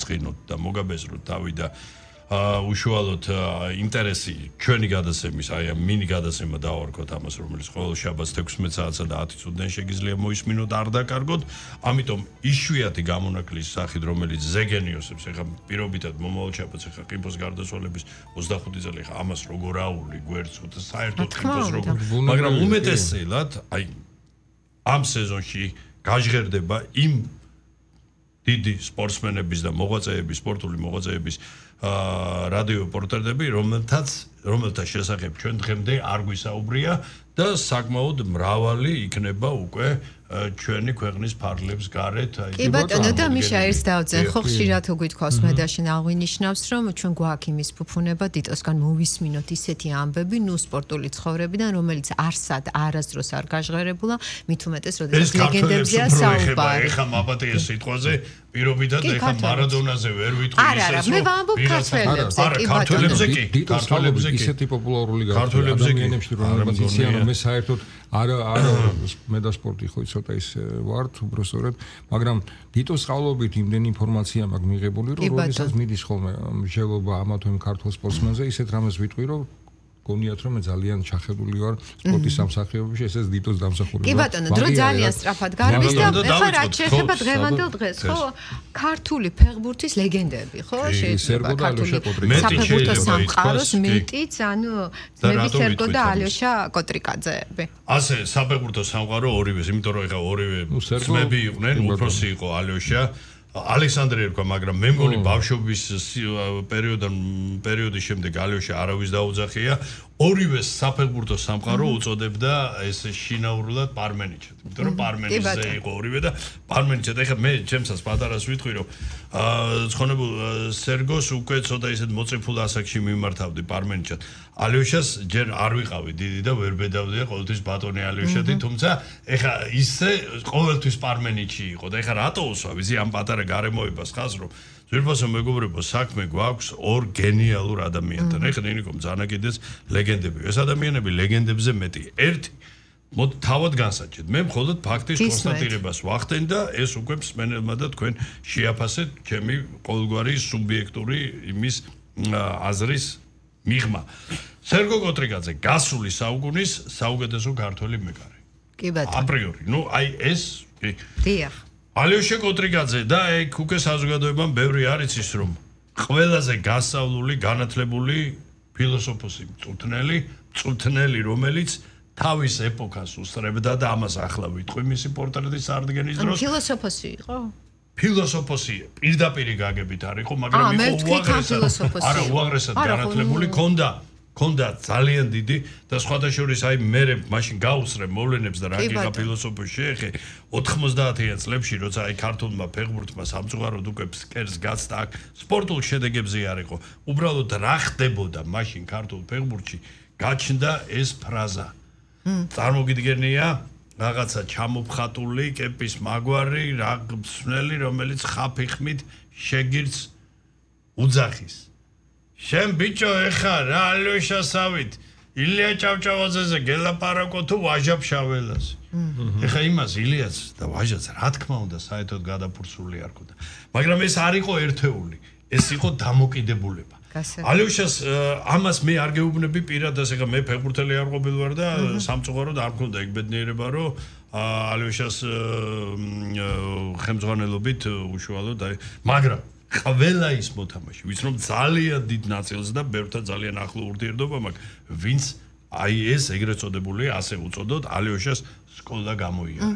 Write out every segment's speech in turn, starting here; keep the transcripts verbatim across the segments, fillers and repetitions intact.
გაცხინოთ და მოგაბეზროთ თავი და უშუალოდ ინტერესი ჩვენი გადაცემის, აი ამ მინი გადაცემა დავარქოთ ამას, რომელიც ყოველ შაბათს თექვსმეტ საათსა და ათი წუთიდან შეგიძლია მოისმინოთ, არ დაკარგოთ. ამიტომ იშვიათი გამონაკლის სახით, რომელიც ზეგენიოსებს, ეხლა პირობითად მომავალ შაბათს, ეხლა ყიფოს გარდაცვალების ოცდახუთი წელი, ეხლა ამას როგორ აული გვერდს, საერთოდ ყიფოს როგორ, მაგრამ უმეტესად, აი ამ სეზონში გაჟღერდება იმ დიდი სპორტსმენების და მოღვაწეების, სპორტული მოღვაწეების რადიო რეპორტერები, რომელთაც რომელთა შესახებ ჩვენ დღემდე არ გვისაუბრია და საკმაოდ მრავალი იქნება უკვე ჩვენი ქვეყნის ფარგლებს გარეთ. კი ბატონო და მიშა ერთს დავძენ, ხო ხშირად უგვითქავს მე და შენ აღვინიშნავს, რომ ჩვენ გვაქვს იმის ფუფუნება დიტოსგან მოვისმინოთ ისეთი ამბები, ნუ სპორტული ცხოვრებიდან, რომელიც არსად არასდროს არ გაჟღერებულა, მით უმეტეს როდესაც ლეგენდებზეა საუბარი. ეხა მაპატიეს სიტყვაზე პირობითად ეხა მარადონაზე ვერ ვიტყვი ისე. არა, არა, მე ვამბობ ქართველებზე, კი ქართველებზე კი, ქართველებზე კი. ისეთი პოპულარული გახდა ადამიანებში, რომელსაც იციან, რომ მე საერთოდ არა არა მე და სპორტი ხო ცოტა ის ვართ უბრალოდ, მაგრამ დიტოს სწავლობით იმდენი ინფორმაცია მაქვს მიღებული, რომ როდესაც მიდის ხოლმე მსჯელობა ამა თუ იმ ქართულ სპორტსმენზე, ისეთ რამეს ვიტყვი, რომ გონიათ რომ მე ძალიან ჩახედული ვარ სპორტის სამსახიობებში, ესეც დიტოს დამსახურება. კი ბატონო, დრო ძალიან სწრაფად გარბის და ეხლა რაც შეეხება დღევანდელ დღეს, ხო? ქართული ფეხბურთის ლეგენდები, ხო? შეიძლება ქართული საფეხბურთო სამყაროს მიტიც, ანუ ძმები სერგო და ალიოშა კოტრიკაძეები. ასე საფეხბურთო სამყარო ორივეს, იმიტომ რომ ეხლა ორივე ძმები იყვნენ, უფროსი იყო ალიოშა ალექსანდრე ერქვა, მაგრამ მე მგონი ბავშვობის პერიოდიდან პერიოდის შემდეგ ალიოშა არავის დაუძახია. ორივე საფეხბურთო სამყარო უწოდებდა ეს შინაურულად პარმენიჩად. იმიტომ რომ პარმენიზე იყო ორივე და პარმენიჩად. ეხლა მე ჩემსაც პატარას ვიტყვი, რომ ცხონებულ სერგოს უკვე ცოტა ისეთ მოწიფულ ასაკში მიმართავდი პარმენიჩად. ალიოშას ჯერ არ ვიყავი დიდი და ვერ ბედავდია ყოველთვის ბატონი ალიოშადი, თუმცა ეხლა ისე ყოველთვის პარმენიჩი იყო და ეხლა რატო უსვა, ვიცი ამ პატარა გარემოებას ხას, რომ ძვირფასო მეგობრებო საქმე გვაქვს ორ გენიალურ ადამიანთან. ეხლა ნინიკომ ძანაკიდეს ლეგენდები. ეს ადამიანები ლეგენდებზე მეტი. ერთი მოდ თავად განსაჩეთ. მე მხოლოდ ფაქტის კონსტატირებას ვახდენ და ეს უკვე მსმენელმა და თქვენ შეაფასეთ ჩემი ყოველგვარი სუბიექტური იმის აზრის მიღმა. სერგო კოტრიკაძე გასული საუკუნის საუკეთესო ქართველი მეკარე. კი ბატონო. აპრიორი. ნუ აი ეს კი. დიახ. ალიოშა კოტრიკაძე და ეგ უკვე საზოგადოებამ ბევრი არ იცის, რომ ყველაზე გასავლული, განათლებული ფილოსოფოსი მწვრთნელი, მწვრთნელი, რომელიც თავის ეპოქას უსწრებდა და ამას ახლა ვიტყვი მისი პორტრეტის წარდგენის დროს. ფილოსოფოსი იყო? ფილოსოფოსი პირდაპირ გაგებით არ იყო, მაგრამ იყო უაღრესად, არა უაღრესად განათლებული, ქონდა ქონდა ძალიან დიდი და სხვადასხვა აი მე მაშინ გაუსწრე მოვლენებს და რა გიღა ფილოსოფიაში შეეხე ოთხმოცდაათიან წლებში, როცა აი ქართულმა ფეხბურთმა სამწუხაროდ უკვე ფსკერს გაცდა აქ სპორტულ შედეგებზე არ იყო. უბრალოდ რა ხდებოდა მაშინ ქართულ ფეხბურთში გაჩნდა ეს ფრაზა. წარმოგიდგენია რაღაცა ჩამოფხატული კეპის მაგვარი რა მსმენელი, რომელიც ხაფიხმით შეგირს უძახის. შენ ბიჭო ეხა რა ალიოშასავით ილია ჭავჭავაძეზე გელაპარაკო თუ ვაჟაფშაველაზე. ეხა იმას ილიას და ვაჟაც რა თქმა უნდა საერთოდ გადაფურცული არ ქონდა. მაგრამ ეს არ იყო ერთეული, ეს იყო დამოკიდებულება. ალიოშას ამას მე არ გეუბნები პირადად, ეხა მე ფეხბურთელი არ ყოფილი ვარ და სამწუხაროდ არ მქონდა ეგ ბედნიერება, რომ ალიოშას ხელმძღვანელობით უშუალოდ აი, მაგრამ ყველა ის მოთამაშე, ვინც რომ ძალიან დიდ ნაწილს და ბევრთან ძალიან ახლო ურთიერთობა მაქვს, ვინც აი ეს ეგრეთ წოდებული ასე უწოდოთ ალიოშას სკოლა გამოიარა.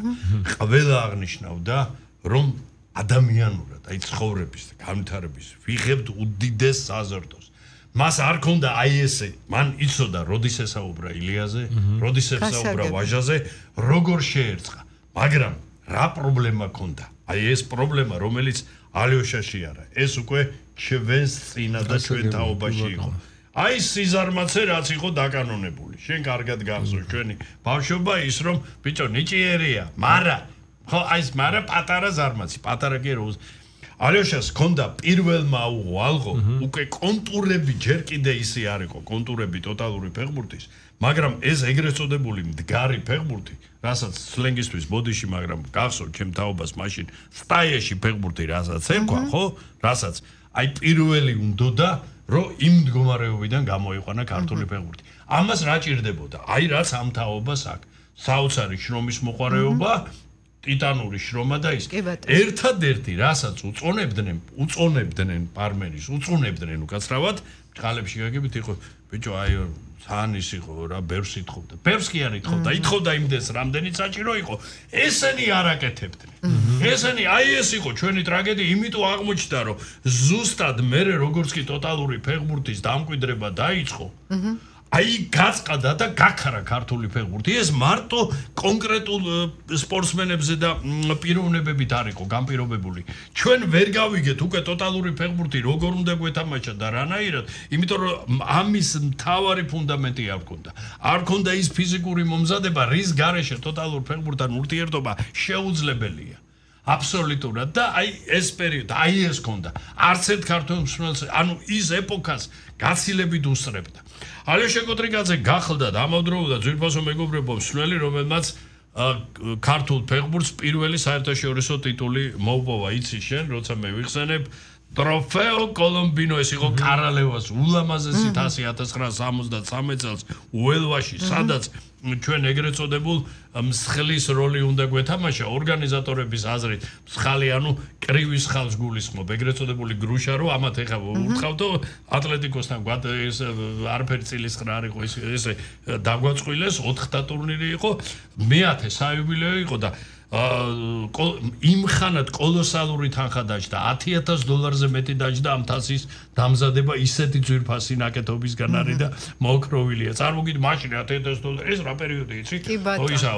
ყველა აღნიშნავდა, რომ ადამიანურად, აი ცხოვრების და განვითარების ვიღებთ უდიდეს საზრდოს. მას არ ქონდა აი ესე, მან იცოდა როდის ესაუბრა ილიაზე, როდის ესაუბრა ვაჟაზე, როგორ შეერწყა. მაგრამ რა პრობლემა ქონდა? აი ეს პრობლემა, რომელიც ალიოშაში არა, ეს უკვე ჩვენს წინა და ჩვენ თაობაში იყო. აი სიზარმაცე რაც იყო დაკანონებული. შენ კარგად გახსოვს ჩვენი ბავშვობა ის რომ ბიჭო ნიჭიერია, მარა ხო აი ეს მარა პატარა ზარმაცი, პატარა კი რო ალეოშას ჰქონდა პირველმა აუღო ალღო, უკვე კონტურები ჯერ კიდე ისე არ იყო, კონტურები ტოტალური ფეხბურთის, მაგრამ ეს ეგრეთ წოდებული მდგარი ფეხბურთი, რასაც სლენგისთვის ბოდიში, მაგრამ გახსოვთ ჩემ თაობას მაშინ სტაიაში ფეხბურთი რასაც ერქვა, ხო? რასაც აი პირველი უნდოდა, რომ იმ მდგომარეობიდან გამოიყვანა ქართული ფეხბურთი. ამას რა ჭირდებოდა? აი რაც ამ თაობას აქვს. საოცარი შრომის მოყვარეობა, ტიტანური შრომა და ის ერთადერთი რასაც უწონებდნენ, უწონებდნენ პარმენის, უწონებდნენ უკაცრავად, ხალებში გაგებით იყო, ბიჭო, აი სანის იყო რა, ბევრს ითხოვდა. ბევრს კი არ ითხოვდა, ითხოვდა იმდეს, რამდენიც საჭირო იყო. ესენი არ აკეთებდნენ. ესენი აი ეს იყო ჩვენი ტრაგედია, იმიტომ აღმოჩნდა, რომ ზუსტად მერე როგორც კი ტოტალური ფეხბურთის დამკვიდრება დაიწყო, აი გაწყდა და გაქარა ქართული ფეხბურთი. ეს მარტო კონკრეტულ სპორტსმენებზე და პიროვნებებით არ იყო განპირობებული. ჩვენ ვერ გავიგეთ უკვე ტოტალური ფეხბურთი როგორ უნდა გვეთამაშა და რანაირად, იმიტომ რომ ამის მთავარი ფუნდამენტი არ ქონდა. არ ქონდა ის ფიზიკური მომზადება, რის გარეშე ტოტალურ ფეხბურთთან ურთიერთობა შეუძლებელია. აბსოლუტურად და აი ეს პერიოდი, აი ეს ქონდა. არც ერთ ქართულ მსმენელს, ანუ ის ეპოქას გაცილებით უსწრებდა. ალეშა კოტრიკაძე გახლდა დამავდროულად ძვირფასო მეგობრებო მსმენელი, რომელმაც ქართულ ფეხბურთს პირველი საერთაშორისო ტიტული მოუპოვა. იცი შენ, როცა მე ვიხსენებ ტროფეო კოლომბინო, ეს იყო კარალევას ულამაზესი თასი ათას ცხრაასი სამოცდათრამეტ წელს უელვაში, სადაც ჩვენ ეგრეთ წოდებულ მსხლის როლი უნდა გვეთამაშა ორგანიზატორების აზრით. მსხალი, ანუ კრივის ხალხს გულისხმობ, ეგრეთ წოდებული გრუშა, რომ ამათ ეხა ურთხავდო ატლეტიკოსთან გვად ეს არაფერი წილის ხრა არ იყო, ეს ესე დაგვაწყვილეს, ოთხთა ტურნირი იყო, მეათე საიუბილეო იყო და იმ ხანად კოლოსალური თანხა დაჯდა, ათი ათას დოლარზე მეტი დაჯდა ამ თასის დამზადება, ისეთი ძვირფასი ნაკეთობისგან არის და მოოქროვილია. წარმოგიდგენთ, მაშინ ათი ათას დოლარი, ეს რა პერიოდი იცი? ო ისა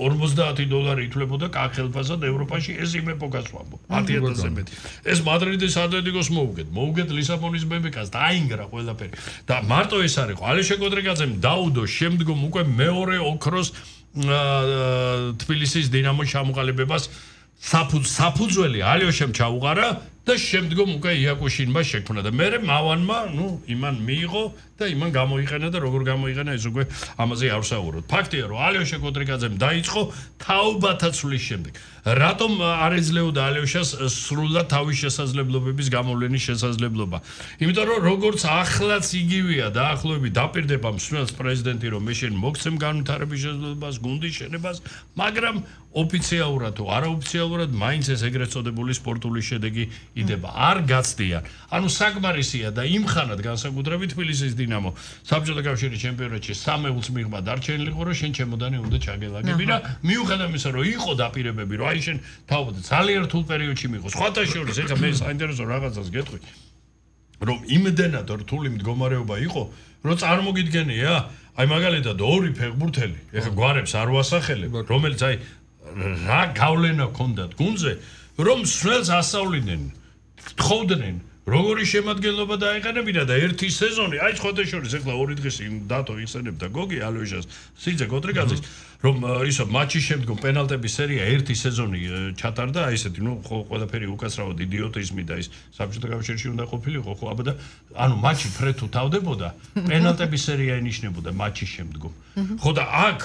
ორმოცდაათი დოლარი ითვლებოდა კახელფასად ევროპაში, ეს იმ ეპოქას ვამბობ, ათი ათასზე მეტი. ეს მადრიდის ატლეტიკოს მოუგეთ, მოუგეთ ლისაბონის ბებეკას, დაინგრა ყველაფერი. და მარტო ეს არ იყო, ალეშა კოტრიკაძემ დაუდო შემდგომ უკვე მეორე ოქროს თბილისის დინამოს ჩამოყალიბებას საფუძველი ალეოშემ ჩაუყარა და შემდგომ უკვე იაკუშინმა შექმნა და მე მავანმა, ნუ იმან მიიღო და იმან გამოიყენა და როგორ გამოიყენა ეს უკვე ამაზე არ ვსაუბრობ. ფაქტია, რომ ალეოშა კოტრიკაძემ დაიწყო თაობათა ცვლის შემდეგ. რატომ არ ეძლეოდა ალეოშას სრულად თავის შესაძლებლობების გამოვლენის შესაძლებლობა? იმიტომ რომ როგორც ახლაც იგივეა დაახლოებით დაპირდება მსმენელს პრეზიდენტი, რომ მე შენ მოგცემ განვითარების შესაძლებლობას, გუნდის შენებას, მაგრამ ოფიციალურად თუ არაოფიციალურად მაინც ეს ეგრეთ წოდებული სპორტული შედეგი იდება. არ გაცდიან. ანუ საკმარისია და იმხანად განსაკუთრებით თბილისის დინამო საბჭოთა კავშირის ჩემპიონატში სამეულს მიღმა დარჩენილი იყო, რომ შენ ჩემოდანი უნდა ჩაგელაგები და მიუხედავად იმისა, რომ იყო დაპირებები, რომ აი შენ თავად ძალიან რთულ პერიოდში მიიღო. სხვათა შორის, ეხლა მე საინტერესო რაღაცას გეტყვი, რომ იმდენად რთული მდგომარეობა იყო, რომ წარმოგიდგენია, აი მაგალითად ორი ფეხბურთელი, ეხლა გვარებს არ ვასახელებ, რომელიც აი რა გავლენა ჰქონდათ გუნდზე, რომ მსმენელს ასწავლიდნენ, თხოვდნენ, როგორი შემადგენლობა დაეყენებინა და ერთი სეზონი, აი სხვათა შორის, ეხლა ორი დღეს იმ დათო იხსენებდა გოგი ალეოშას, სიძე კოტრიკაძის, რომ ისო მატჩის შემდგომ პენალტების სერია ერთი სეზონი ჩატარდა, აი ესეთი, ნუ ყველაფერი უკაცრავად იდიოტიზმი და ის საბჭოთა კავშირში უნდა ყოფილიყო, ხო, აბა და ანუ მატჩი ფრედ თუ თავდებოდა, პენალტების სერია ინიშნებოდა მატჩის შემდგომ. ხო და აქ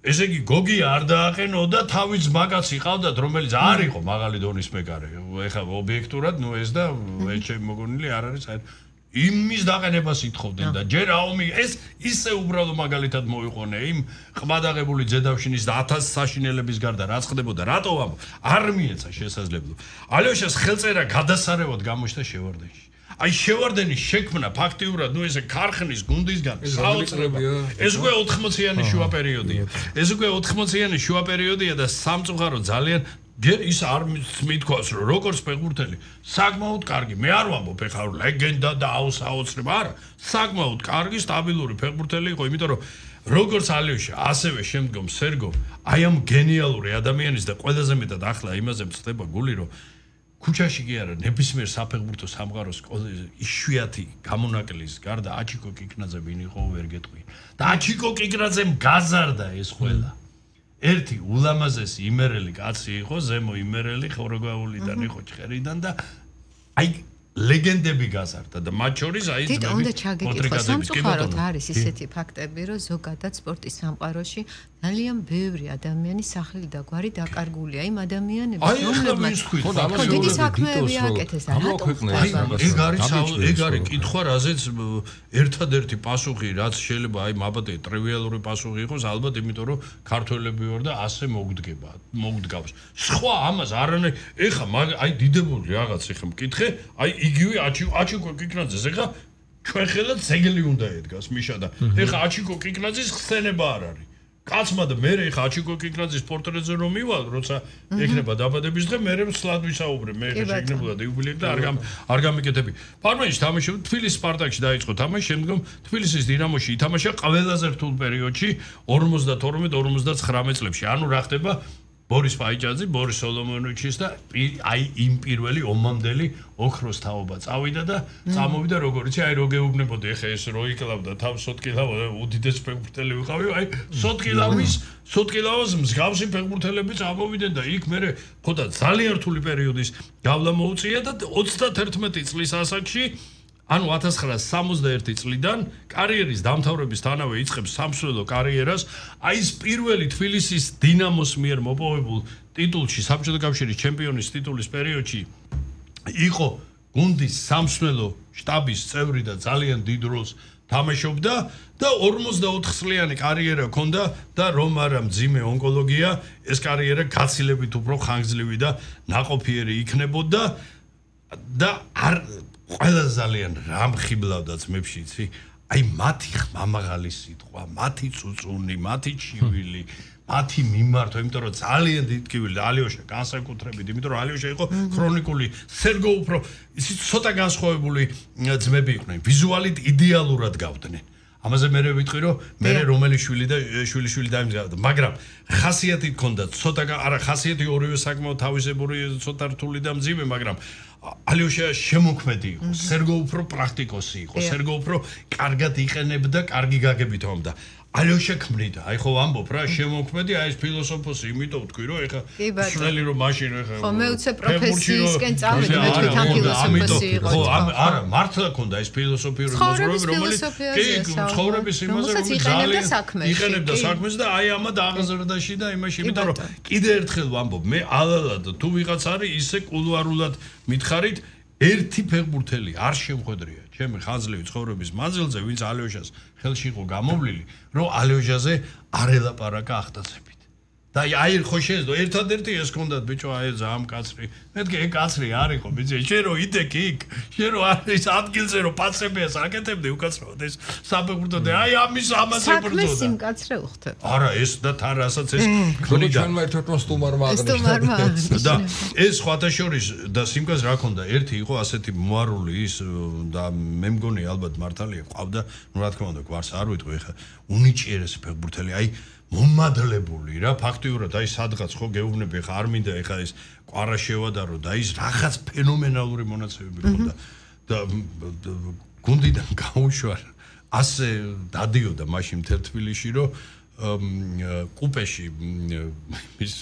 ესე იგი გოგი არ დააყენოდა, თავის მაგაც იყავდათ, რომელიც არ იყო მაღალი დონის მეკარე. ეხლა ობიექტურად, ნუ ეს და ეჩემ მოგონილი არ არის საერთოდ იმის დაყენებას ითხოვდნენ და ჯერ აომი ეს ისე უბრალო მაგალითად მოიყვანე იმ ყმადაღებული ძედავშინის და ათას საშინელების გარდა რაც ხდებოდა, რატო ამ არ მიეცა შესაძლებლობა. ალეოშას ხელწერა გადასარევად გამოჩნდა შევარდენში. აი შევარდენის შექმნა ფაქტიურად, ნუ ესე ქარხნის გუნდისგან საოცრება. ეს უკვე ოთხმოციანი შუა პერიოდია. ეს უკვე ოთხმოციანი შუა პერიოდია და სამწუხარო ძალიან ჯერ ის არ მithქვას, რომ როგორც ფეხბურთელი საკმაოდ კარგი, მე არ ვამბობ ეხლა ლეგენდა და აუსაოცრება, არა, საკმაოდ კარგი, სტაბილური ფეხბურთელი იყო, იმიტომ რომ როგორც ალეოშა, ასევე შემდგომ სერგო, აი ამ გენიალური ადამიანის და ყველაზე მეტად ახლა იმაზე მწდება გული, რომ ქუჩაში კი არა, ნებისმიერ საფეხბურთო სამყაროს იშვიათი გამონაკლის გარდა აჩიკო კიკნაძე ვინ იყო ვერ გეტყვი. და აჩიკო კიკნაძემ გაზარდა ეს ყველა. ერთი ულამაზესი იმერელი კაცი იყო, ზემო იმერელი, ხოროგაულიდან იყო ჭერიდან და აი ლეგენდები გაზარდა და მათ შორის აი ეს თვითონ უნდა ჩაგეკითხა სამწუხაროდ არის ისეთი ფაქტები, რომ ზოგადად სპორტის სამყაროში ძალიან ბევრი ადამიანი სახელი და გვარი დაკარგულია იმ ადამიანების, რომლებმაც დიდი საქმეები აკეთეს და რატომ ეგ არის ეგ არის კითხვა, რაზეც ერთადერთი პასუხი, რაც შეიძლება აი მაბატე ტრივიალური პასუხი იყოს, ალბათ იმიტომ რომ ქართველები ვარ და ასე მოგდგება, მოგდგავს. სხვა ამას არანაირ ეხა აი დიდებული რაღაც ეხა მკითხე, აი იგივე აჩიკო კიკნაძეს ეხა ჩვენ ხელა ზეგლი უნდა ედგას მიშა და ეხა აჩიკო კიკნაძის ხსენება არ არის. კაცმა და მე ეხა აჩიკო კიკნაძის პორტრეტზე რომ მივალ, როცა ექნება დაბადების დღე, მე სლად ვისაუბრე, მე შეგნებოდა იუბილეები და არ არ გამიკეთები. ფარმენში თამაშობდა, თბილისის სპარტაკში დაიწყო თამაში, შემდგომ თბილისის დინამოში ითამაშა ყველაზე რთულ პერიოდში ორმოცდათორმეტ ორმოცდაცხრამეტ წლებში. ანუ რა ხდება ბორის პაიჭაძე, ბორის სოლომონოვიჩის და აი იმ პირველი ომამდელი ოქროს თაობა წავიდა და წამოვიდა როგორ იცი, აი რო გეუბნებოდი ეხა ეს რო იკლავდა თავს სოტკილავა უდიდეს ფეხბურთელი ვიყავი, აი სოტკილავის, სოტკილავას მსგავსი ფეხბურთელები წამოვიდნენ და იქ მე ხოდა ძალიან რთული პერიოდის გავლა მოუწია და ოცდათერთმეტი წლის ასაკში ანუ ათას ცხრაასი სამოცდაერთი წლიდან კარიერის დამთავრებისთანავე იწყებს სამსვლელო კარიერას, აი ეს პირველი თბილისის დინამოს მიერ მოპოვებულ ტიტულში, საბჭოთა კავშირის ჩემპიონის ტიტულის პერიოდში იყო გუნდის სამსვლელო შტაბის წევრი და ძალიან დიდ როლს თამაშობდა და ორმოცდაოთხ წლიანი კარიერა ჰქონდა და რომ არა მძიმე ონკოლოგია, ეს კარიერა გაცილებით უფრო ხანგრძლივი და ნაყოფიერი იქნებოდა და არ ყველა ძალიან რამხიბლავდა ძმებში, იცი? აი მათი ხმამაღალი სიტყვა, მათი წუწუნი, მათი ჩივილი, მათი მიმართვა, იმიტომ რომ ძალიან დიდკივილი ალიოშა განსაკუთრებით, იმიტომ რომ ალიოშა იყო ქრონიკული, სერგო უფრო იცი ცოტა განსხვავებული ძმები იყვნენ, ვიზუალით იდეალურად გავდნენ. ამაზე მე ვიტყვი რომ მე რომელი შვილი და შვილი შვილი დაიმზადა, მაგრამ ხასიათი ჰქონდა, ცოტა არა ხასიათი ორივე საკმაოდ თავისებური, ცოტა რთული და მძიმე, მაგრამ ალიოშა შემოქმედი იყო, სერგო უფრო პრაქტიკოსი იყო, სერგო უფრო კარგად იყენებდა, კარგი გაგებით ომდა. ალიოშა ქმნიდა, აი ხო ვამბობ რა, შემოქმედი, აი ეს ფილოსოფოსი, იმიტომ ვთქვი რომ ეხა სულელი რომ მაშინ ეხა ხო მე უცებ პროფესიისკენ წავედი, მე თვითონ ფილოსოფოსი იყო. ხო არა, მართლა ქონდა ეს ფილოსოფიური მოძრაობა, რომელიც კი ცხოვრების იმაზე რომ ძალიან იყენებდა საქმეს და აი ამად აღზრდაში და იმაში, იმიტომ რომ კიდე ერთხელ ვამბობ, მე ალალად თუ ვიღაც არის ისე კულუარულად მითხარით ერთი ფეხბურთელი არ შემხედრია ჩემი ხანძლივი ცხოვრების მანძილზე, ვინც ალიოშას ხელში იყო გამოვლილი, რომ ალიოშაზე არ ელაპარაკა ახტაცებით. და აი ხო შეეძლო ერთადერთი ეს ჰქონდათ ბიჭო, აი ზამ კაცრი. მეთქე ეგ კაცრი არ იყო, ბიჭო, შენ რო იდექი იქ, შენ რო არის ადგილზე რო პაცებიას აკეთებდი უკაცრავად ეს საფეხბურთო და აი ამის ამაზე ბრძოდა. საქმეს იმ კაცრე უხდებ. არა, ეს და თან რასაც ეს გონი ჩვენმა ერთადმა სტუმარმა აღნიშნა. და ეს სხვათა შორის და სიმკას რა ქონდა, ერთი იყო ასეთი მოარული ის და მე მგონი ალბათ მართალია ყავდა, ну რა თქმა უნდა, გვარს არ ვიტყვი ხა, უნიჭიერესი ფეხბურთელი, აი მომადლებული რა ფაქტიურად აი სადღაც ხო გეუბნები ხა არ მინდა ეხა ეს კვარა შევადარო და ის რაღაც ფენომენალური მონაცემები ხონდა და გუნდიდან გაუშვა ასე დადიოდა მაშინ მთელ თბილისში რომ კუპეში ის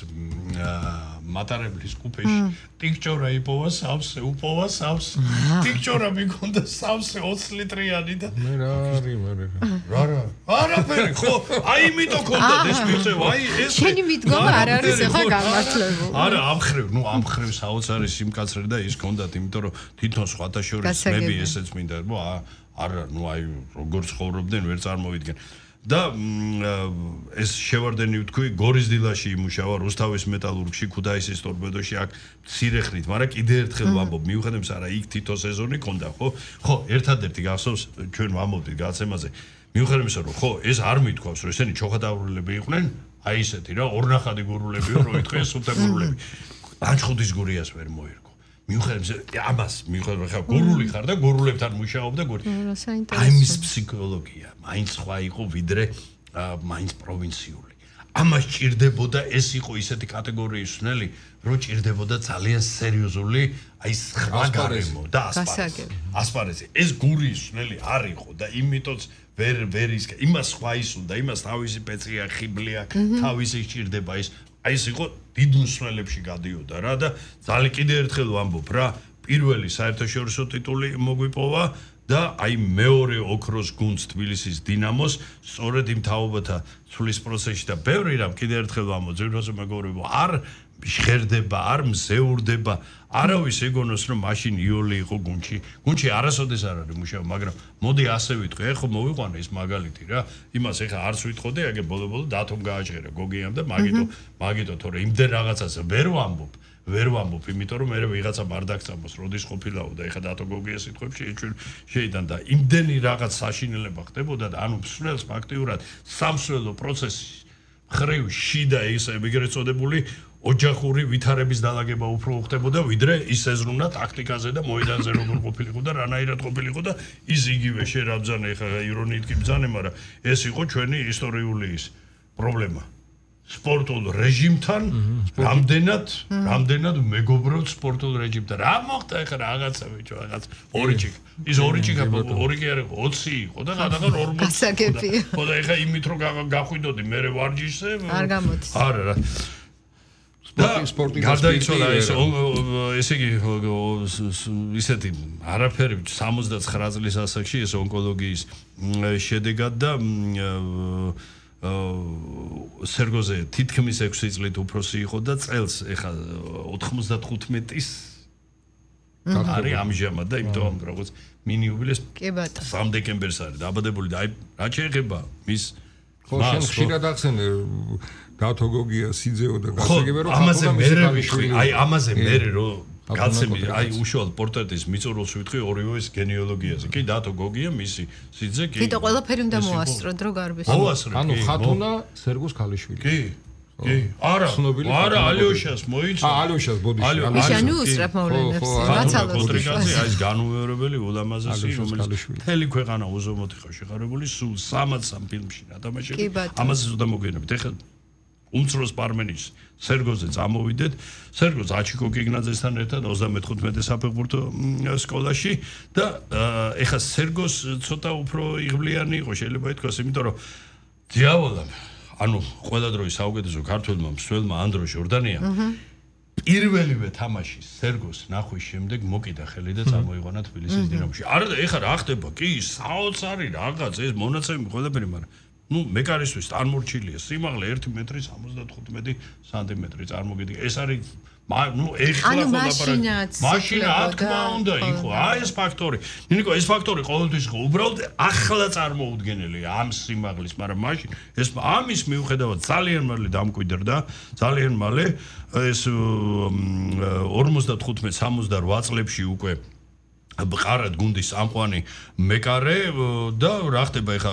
მატარებლის კუპეში ტიქჭორა იპოვა სავსე უპოვა სავსე ტიქჭორა მიქონდა სავსე ოცი ლიტრიანი და მე რა არის მე რა რა არაფერი ხო აი იმიტომ ქონდა ეს მიწევ აი ეს შენი მიდგომა არ არის ახლა გამართლებული არა ამხრივ ნუ ამხრივ საოცარი სიმკაცრე და ის ქონდათ იმიტომ რომ თვითონ სხვათა შორის მები ესეც მინდა რომ არა ნუ აი როგორ ცხოვრობდნენ ვერ წარმოვიდგენ და ეს შევარდენი ვთქვი გორის დილაში იმუშავა რუსთავის მეტალურგში ქუთაისის ტორპედოში აქ მცირეხნით მაგრამ კიდე ერთხელ ვამბობ მიუხედავად არა იქ თითო სეზონი ქონდა ხო ხო ერთადერთი გახსოვს ჩვენ ვამბობდით გაცემაზე მიუხედავად იმისა რომ ხო ეს არ მithქვავს რომ ესენი ჩოხატაურლები იყვნენ აი ესეთი რა ორნახადი გურულებიო რო იტყვეს სულთაგურულები ლანჩხუთის გურიას ვერ მოერგო მიუხედავად ამას მიუხედავად ხა გურული ხარ და გურულებთან მუშაობდა გური აი მის ფსიქოლოგია მაინც სხვა იყო ვიდრე მაინც პროვინციული ამას ჭირდებოდა ეს იყო ისეთი კატეგორიის ნელი, რომ ჭირდებოდა ძალიან სერიოზული აი სხვა გარემო და ასპარეზი. ასპარეზი. ეს გურიის ნელი არ იყო და იმიტოც ვერ ვერ ის იმას სხვა ის უნდა, იმას თავისი პეცია, ხიბლია, თავისი ჭირდება ის. აი ეს იყო დიდ მსვლელებში გადიოდა რა და ძალიან კიდე ერთხელ ვამბობ რა, პირველი საერთაშორისო ტიტული მოგვიპოვა და აი მეორე ოქროს გუნდს თბილისის დინამოს სწორედ იმ თაობათა ცვლის პროცესში და ბევრი რამ კიდე ერთხელ ვამბობ, ზოგადად მეგობრებო, არ ჟღერდება, არ მზეურდება, არავის ეგონოს რომ მაშინ იოლი იყო გუნდში. გუნდში არასოდეს არ არის მუშაობა, მაგრამ მოდი ასე ვიტყვი, ეხლა მოვიყვანე ეს მაგალითი რა. იმას ეხლა არც ვიტყოდე, აგე ბოლო-ბოლო დათომ გააჭერა გოგიამ და მაგიტო, მაგიტო თორე იმდენ რაღაცას ვერ ვამბობ. ვერ ვამბობ, იმიტომ რომ მე ვიღაცა ბარდაკწამოს, როდის ყოფილაო და ეხლა დათო გოგია სიტყვებში შეიდან და იმდენი რაღაც საშინელება ხდებოდა და ანუ მსვლელს ფაქტიურად სამსვლელო პროცესში ხრივ შიდა ის ეგრეთ წოდებული ოჯახური ვითარების დალაგება უფრო ხდებოდა, ვიდრე ის ეზრუნა ტაქტიკაზე და მოედანზე როგორ ყოფილიყო და რანაირად ყოფილიყო და ის იგივე შერაბძანე ხა ირონიით კი ბძანე, მაგრამ ეს იყო ჩვენი ისტორიული ის პრობლემა. სპორტულ რეჟიმთან რამდენად რამდენად მეგობრობთ სპორტულ რეჟიმთან. რა მოხდა ეხლა რაღაცა ბიჭო, რაღაც ორი ჩიქა. ის ორი ჩიქა ორი კი არ იყო, ოცი იყო და გადაღარ ორმოცი. გასაგებია. ხო და ეხლა იმით რომ გახვიდოდი მე ვარჯიშზე არ გამოდის. არა რა. სპორტი გარდაიცვალა ეს ესე იგი ისეთი არაფერი სამოცდაცხრა წლის ასაკში ეს ონკოლოგიის შედეგად და სერგოზე თითქმის ექვსი წლით უფროსი იყო და წელს ეხა ოთხმოცდათხუთმეტის არის ამჟამად და იმიტომ როგორც მინი იუბილეს სამ დეკემბერს არის დაბადებული და აი რა შეეხება მის ხო შენ ხშირად ახსენე დათო გოგია სიძეო და გასაგებია რომ ამაზე მერე ვიტყვი აი ამაზე მერე რომ გაცემი აი უშუალოდ პორტრეტის მიწურულს ვიტყვი ორივეს გენეალოგიაზე კი დათო გოგია მისი სიძე კი თვითონ ყველაფერი უნდა მოასწროთ რომ გარბის ანუ ხათუნა სერგოს ქალიშვილი კი კი არა არა ალიოშას მოიცვა აა ალიოშას ბოდიში ალიოშანი უსწრაფ მოვლენებს მაცალოს კონტრიკაზე აი ეს განუვერებელი ულამაზესი რომელიც მთელი ქვეყანა უზომოდ იყო შეყარებული სულ სამოცი ფილმში ნათამაშები ამაზე ზუსტად მოგვიანებით ეხლა უმცროს პარმენის სერგოზე წამოვიდეთ სერგო ზაჩიკო გიგნაძესთან ერთად ოცდამეთხუთმეტე საფეხბურთო სკოლაში და ეხლა სერგოს ცოტა უფრო იღბლიანი იყო შეიძლება ითქვას იმიტომ რომ დიავოლამ ანუ ყველა დროის საუკეთესო ქართველმა მსვლელმა ანდრო ჟორდანია პირველივე თამაში სერგოს ნახვის შემდეგ მოკიდა ხელი და წამოიყვანა თბილისის დინამოში არა და ეხლა რა ხდება კი საოცარი რაღაც ეს მონაცემი ყველაფერი მაგრამ ну მეკარისთვის წარმორჩილია სიმაღლე ერთი მეტრი სამოცდათხუთმეტი სანტიმეტრი წარმოგიდგა ეს არის ну ეხლა ხო ლაპარაკი მაშინა რა თქმა უნდა იყო აი ეს ფაქტორი ნიკო ეს ფაქტორი ყოველთვის იყო უბრალოდ ახლა წარმოუდგენელი ამ სიმაღლის მაგრამ მაშინ ეს ამის მიუხედავად ძალიან მალე დამკვიდრდა ძალიან მალე ეს ორმოცდათხუთმეტ სამოცდარვა წლებში უკვე ბყარად გუნდის ამყვანი მეკარე და რა ხდება ეხა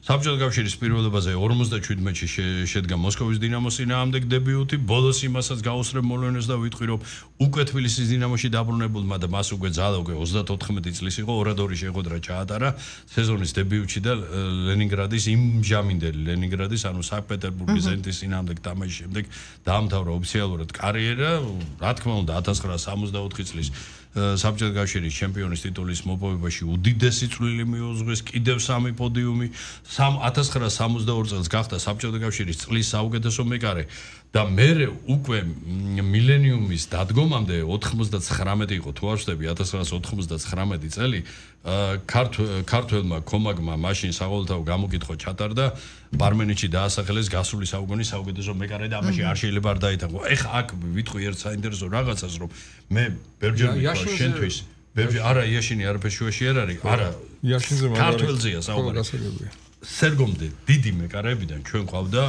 საბჭოთა კავშირის პირველობაზე ორმოცდაშვიდმეტში შედგა მოსკოვის დინამოს წინააღმდეგ დებიუტი ბოლოს იმასაც გაუსწრებ მოვლენებს და ვიტყვი რომ უკვე თბილისის დინამოში დაბრუნებულმა და მას უკვე ძალა უკვე ოცდაოთხმეტი წლის იყო ორადორი შეხვედრა ჩაატარა სეზონის დებიუტში და ლენინგრადის იმჟამინდელი ლენინგრადის ანუ სანქტ-პეტერბურგის ზენიტის წინააღმდეგ თამაშის შემდეგ დაამთავრა ოფიციალურად კარიერა რა თქმა უნდა ათას ცხრაასა სამოცდაოთხი წლის საბჭოთა კავშირის ჩემპიონის ტიტულის მოპოვებაში უდიდესი წვლილი მიუძღვის კიდევ სამი პოდიუმი ათას ცხრაასა სამოცდაორი წელს გახდა საბჭოთა კავშირის წლის საუკეთესო მეკარე და მერე უკვე მილენიუმის დადგომამდე ოთხმოცდაცხრამეტი იყო თუ არ ვშტები ათას ცხრაასა ოთხმოცდაცხრამეტი წელი ქართველმა კომაგმა მაშინ საყოველთაო გამოკითხვა ჩატარდა პარმენეთში დაასახელეს გასული საუკუნის საუკეთესო მეკარე და ამაში არ შეიძლება არ დაითანხმო ეხა აქ ვიტყვი ერთ საინტერესო რაღაცას რომ მე ბევრჯერ ვიტყვა შენთვის ბევრი არა იაშინი არაფერ შუაში არ არის არა იაშინზე მაგარი ქართველზეა საუბარი სერგომდე დიდი მეკარეებიდან ჩვენ ყავდა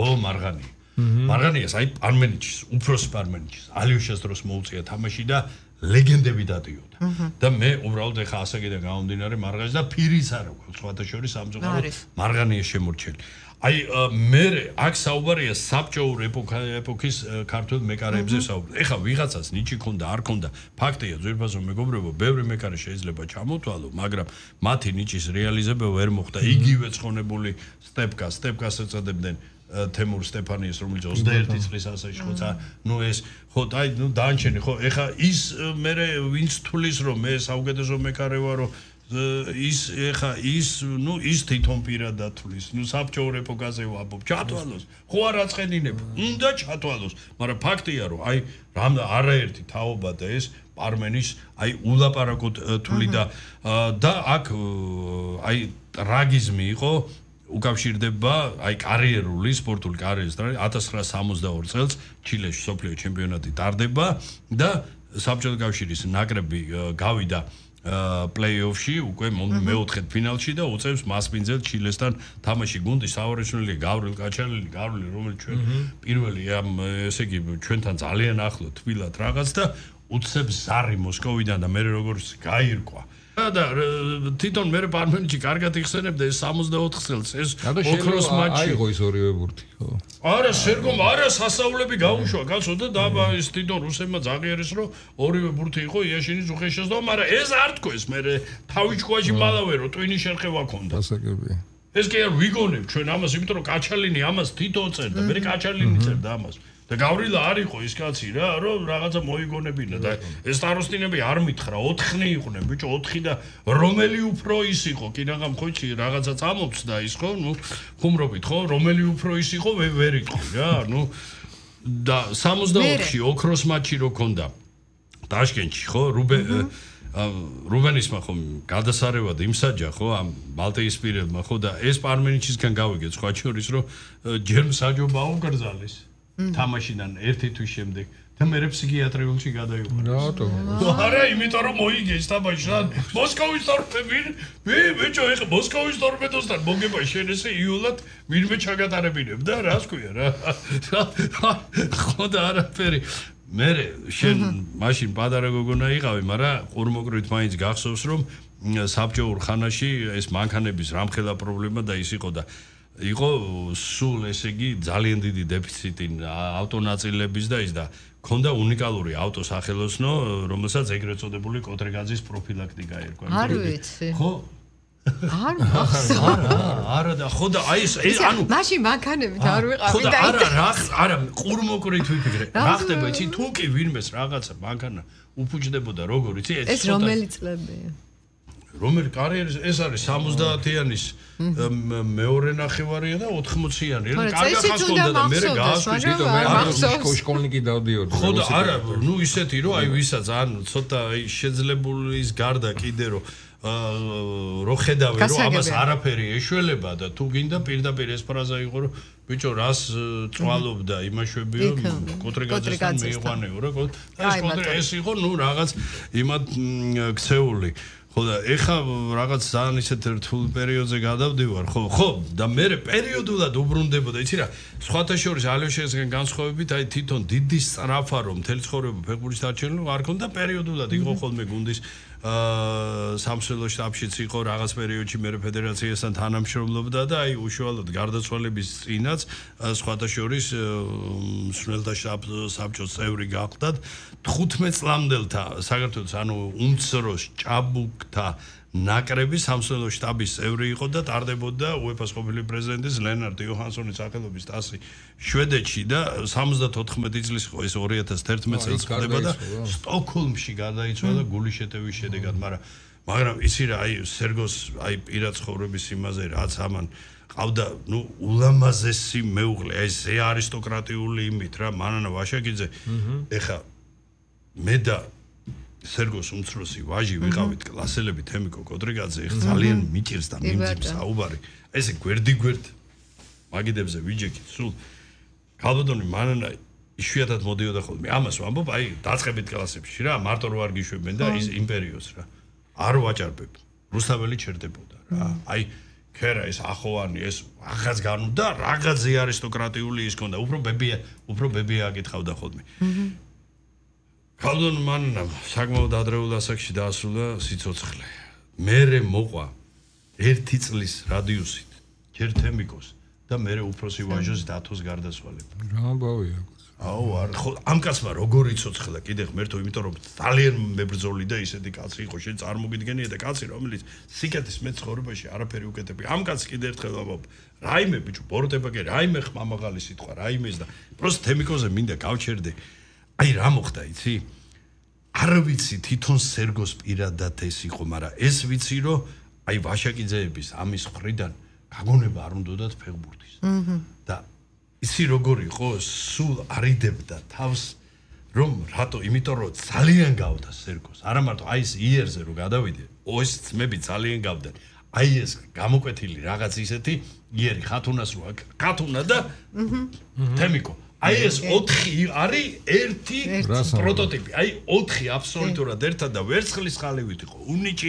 ო მარღანი მარღანიას აი პარმენეთში უფროს პარმენეთში ალიოშას დროს მოუწია თამაში და ლეგენდები დადიოდა და მე უბრალოდ ეხა ასაკიდან გამომდინარე მარღანიას და ფირის არ აქვს სხვათა შორის სამწუხაროდ მარღანიას შემორჩელი აი მე აქ საუბარია საბჭოურ ეპოქის ქართულ მეკარეებზე საუბარი ეხა ვიღაცას ნიჭი ქონდა არ ქონდა ფაქტია ძვირფასო მეგობრებო ბევრი მეკარე შეიძლება ჩამოთვალო მაგრამ მათი ნიჭის რეალიზება ვერ მოხდა იგივე ცხონებული სტეპკა სტეპკას ეწოდებდნენ თემურ სტეფანიეს, რომელიც ოცდაერთი წლის ასაკში ხო, ნუ ეს ხო, აი, ნუ დაანჩენი ხო, ეხა ის მე ვინც თulis რომ მე საუკეთესო მექარე ვარო ის ეხა ის ნუ ის თვითონ პირადად თulis, ნუ საბჭოურ ეპოქაზე ვაბობ, ჩათვალოს, ხო არ აწყენინება, უნდა ჩათვალოს, მაგრამ ფაქტია რომ აი რამ არაერთი თაობა და ეს პარმენის აი ულაპარაკოდ თული და და აქ აი ტრაგიზმი იყო უკავშირდება აი კარიერული სპორტული კარიერის და ათას ცხრაასი სამოცდაორი წელს ჩილეში სოფლიო ჩემპიონატი ტარდება და საბჭოთა კავშირის ნაკრები გავიდა პლეი-ოფში უკვე მეოთხედ ფინალში და უწევს მასპინძელ ჩილესთან თამაში გუნდი საავარეშვილი გავრილ კაჩალელი გავრილი რომელიც ჩვენ პირველი ამ ესე იგი ჩვენთან ძალიან ახლო თბილად რაღაც და უცებს ზარი მოსკოვიდან და მე როგორც გაირკვა და თვითონ მე პარმენში კარგად იხსენებდა ეს სამოცდაოთხ წელს ეს ოქროს მატჩი აიღო ის ორივე ბურთი ხო არა სერგომ არა სასავლები გაუშვა კაცო და დაბა ეს თვითონ რუსებმა ზაღიერეს რომ ორივე ბურთი იყო იაშინის უხეშეს და მაგრამ ეს არ თქოს მე თავი ჭკუაში მალავე რომ ტვინი შერხევა ქონდა დასაგებია ეს კი არ ვიგონებ ჩვენ ამას იმიტომ რომ კაჩალინი ამას თვითონ წერდა მე კაჩალინი წერდა ამას და გავრილა არ იყო ის კაცი რა რომ რაღაცა მოიგონებინა და ეს სტაროსტინები არ მითხრა ოთხნი იყვნენ ბიჭო ოთხი და რომელი უფრო ის იყო კი რაღაც ხოჩი რაღაცა წამოწდა ის ხო ნუ ხუმრობით ხო რომელი უფრო ის იყო ვერ იყო რა ნუ და სამოცდაოთხში ოქროს მატჩი რო ქონდა ტაშკენტში ხო რუბე რუბენისმა ხო გადასარევად იმსაჯა ხო ამ ბალტიისპირელმა ხო და ეს პარმენიჩისგან გავიგეთ სხვა შორის რომ ჯერ საჯობა უგრძალეს თამაშიდან ერთი თვის შემდეგ და მე ფსიქიატრიულში გადაიყვანეს. რატო? არა, იმიტომ რომ მოიგეს თამაშიდან. მოსკოვის ტორპედი, მე ბიჭო, ეხა მოსკოვის ტორპედოსთან მოგება შენ ესე იულად ვინმე ჩაგატარებინებ და რას ქვია რა. ხო და არაფერი. მე შენ მაშინ პატარა გოგონა იყავი, მაგრამ ყურმოკრით მაინც გახსოვს რომ საბჭოურ ხანაში ეს მანქანების რამხელა პრობლემა და ის იყო და იყო სულ ესე იგი ძალიან დიდი დეფიციტი ავტონაწილების და ის და ქონდა უნიკალური ავტოსახელოსნო რომელსაც ეგრეთ წოდებული კოტრეგაძის პროფილაქტიკა ერქვა. არ ვიცი. ხო? არ მახსოვს. არა და ხო და აი ეს ანუ მაშინ მანქანებით არ ვიყავი და არა რა არა ყურმოკრით ვიფიქრე. რა ხდება იცი თუ კი ვინმეს რაღაცა მანქანა უფუჭდებოდა როგორ იცი ეს რომელი წლებია? რომელი კარიერის ეს არის სამოცდაათიანის მეორე ნახევარია და ოთხმოციანი რა კარგა ხას ხონდა და მე გაასვით თვითონ მე ამ შკოლნიკი დავდიოდი ხო და არა ნუ ისეთი რომ აი ვისაც ან ცოტა აი შეძლებულის გარდა კიდე რომ რო ხედავე რომ ამას არაფერი ეშველება და თუ გინდა პირდაპირ ეს ფრაზა იყო რომ ბიჭო რას წვალობდა იმაშვებიო კოტრეგაძესთან მიიყვანეო რა ეს კოტრე ეს იყო ნუ რაღაც იმათ ქცეული ხო და ეხა რაღაც ძალიან ისეთ რთულ პერიოდზე გადავდივარ ხო ხო და მე პერიოდულად უბრუნდებოდა იცი რა სხვათა შორის ალიოშესგან განსხვავებით აი თვითონ დიდი სწრაფა რომ მთელი ცხოვრება ფეხბურთის დარჩენილი არ ქონდა პერიოდულად იყო ხოლმე გუნდის აა სამსვლელო შტაბშიც იყო რაღაც პერიოდში მე ფედერაციასთან თანამშრომლობდა და აი უშუალოდ გარდაცვალების წინაც სხვათა შორის მსვლელთა შტაბ საბჭოს წევრი გახდათ თხუთმეტ წლამდელთა საქართველოს ანუ უმცროს ჭაბუკთა ნაკრები სამსვლელო შტაბის წევრი იყო და ტარდებოდა უეფა-ს ყოფილი პრეზიდენტის ლენარტ იოჰანსონის სახელობის ტასი შვედეთში და სამოცდათოთხმეტი წლის იყო ეს ორი ათას თერთმეტ წელს ხდება და სტოკჰოლმში გადაიცვალა გულის შეტევის შედეგად მაგრამ მაგრამ იცი რა აი სერგოს აი პირად ცხოვრების იმაზე რაც ამან ყავდა ნუ ულამაზესი მეუღლე აი ზე არისტოკრატიული იმით რა მანანა ვაშაკიძე ეხა მე და სერგოს უმცროსი ვაჟი ვიყავით კლასელები თემიკო კოტრეგაძე ეხ ძალიან მიჭირს და მიმძიმს საუბარი ესე გვერდი გვერდ მაგიდებზე ვიჯექით სულ ქალბატონი მანანა იშვიათად მოდიოდა ხოლმე ამას ვამბობ აი დაწყებით კლასებში რა მარტო რო არ გიშვებენ და ის იმპერიოს რა არ ვაჭარბებ რუსთაველი ჩერდებოდა რა აი ქერა ეს ახოვანი ეს რაღაც განუ და რაღაცი არისტოკრატიული ის ქონდა უფრო ბებია უფრო ბებია აკითხავდა ხოლმე ქალბატონ მანანა საკმაოდ ადრეულ ასაკში დაასრულა სიცოცხლე მერე მოყვა ერთი წლის რადიუსით ჯერ თემიკოს და მერე უფროსი ვაჟოს დათოს გარდაცვალება რა ამბავია აუ არ ხო ამ კაცმა როგორ იცოცხლა კიდე ღმერთო იმიტომ რომ ძალიან მებრძოლი და ისეთი კაცი იყო შენ წარმოგიდგენია და კაცი რომელიც სიკეთის მეცხოვრებაში არაფერი უკეთებია ამ კაცს კიდე ერთხელ ვამბობ რაიმე ბიჭო ბოროტება კი რაიმე ხმამაღალი სიტყვა რაიმეს და პროსტ თემიკოზე მინდა გავჩერდე აი რა მოხდა იცი არ ვიცი თვითონ სერგოს პირადად ეს იყო მაგრამ ეს ვიცი რომ აი ვაშაკიძეების ამის ხრიდან გაგონება არ უნდათ ფეხბურთის და ისი როგორ იყო სულ არიდებდა თავს რომ რატო იმიტომ რომ ძალიან გავდა სერგოს არა მარტო აი ეს იერზე რომ გადავიდე ეს ძმები ძალიან გავდნენ აი ეს გამოკვეთილი რაღაც ისეთი იერი ხათუნას რო ხათუნა და თემიკო აი ეს ოთხი არის ერთი პროტოტიპი აი ოთხი აბსოლუტურად ერთად და ვერცხლის ხალივით იყო უნიჭი